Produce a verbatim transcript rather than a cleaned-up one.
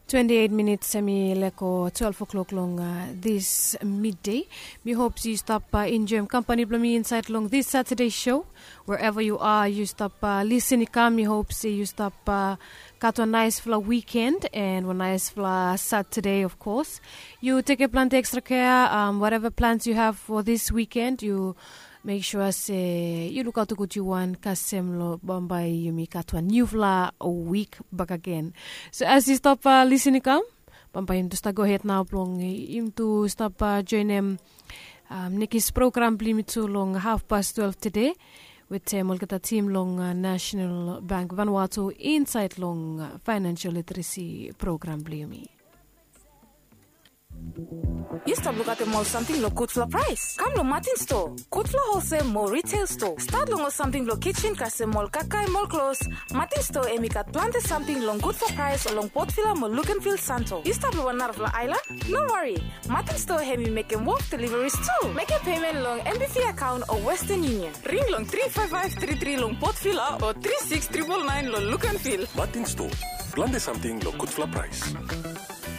Twenti eit minits em i lego twelve o'clock long dis midei. Mi hop se yu stap enjoim kampani blong mi insaed long dis satade show. Wherever yu are, yu stap lisin i kam, mi hop se yu stap gat wan naesfala wikend and wan naesfala satade of kos. Yu tekem plante ekstra kea. Whatever plans yu have fo dis wikend, yu mek sua se yu lukaot gud yu wan kasem long bambae yumi gat wan niufala wik bakagen. So as yu stap lisin i kam, bambae yumi tu stap gohed nao blong yumi tu stap joenem nekis program blong yumi tu long hafpas twelve tede, wetem olgeta tim long nasenal bank vanua tu insaed long faenensel literesi program blong yumi. Yu stap lukaotem ol samting long gudfala praes? Kam long matin stoa, gudfala holsel mo ritel stoa. Stat long ol samting blong kisin kasem ol kakae mo ol klos. Matin stoa em i gat plante samting long gudfala praes long potvila mo lukenvil santo. Yu stap long wan narafala aelan? No wari. Matin stoa em i mekem wok deliveris tu. Mekem pemen long mbv akaon o westen yunion. Ring long tri faef faef tri tri long potvila o tri siks tripol naen long lukenvil. Matin stoa, plante samting long gudfala praes.